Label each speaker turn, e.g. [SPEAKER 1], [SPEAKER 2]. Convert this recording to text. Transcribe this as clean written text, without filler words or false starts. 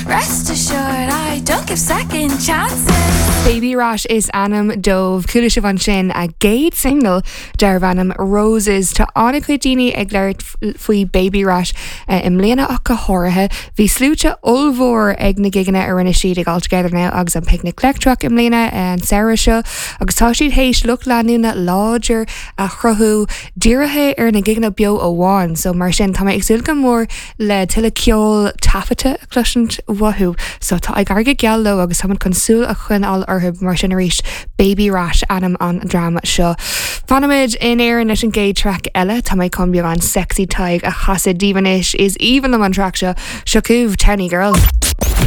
[SPEAKER 1] Rest assured I don't give second chances.
[SPEAKER 2] Baby Rash is ainm dóibh. Chuala sibh ansin a gcéad single darbh ainm Roses. Tá an-chuid daoine ag labhairt faoi Baby Rash i mbliana ach go háirithe. Bhí sluaite ollmhór ag na gigeanna a rinne siad ag All Together Now agus an Picnic Leictreach i mbliana an samhradh seo agus tá siad théis lucht leanúna láidir a chruthú dírithe ar na gigeanna beo amháin. So mar sin tá mé ag súil go mór le tuilleadh ceol taifeadta a chloisint uathu. So tá ag éirí go geal leo agus táimid chun súil a choinneáil orthu mar sin arís. Baby Rash ainm an dream seo. Fanfaimid in Éirinn leis an gcéad traic eile. Tá mé chun beagán Sexy Tadhg a chasadh daoibh anois. Is aoibhinn liom an traic seo. Seo chugaibh Townie Girl.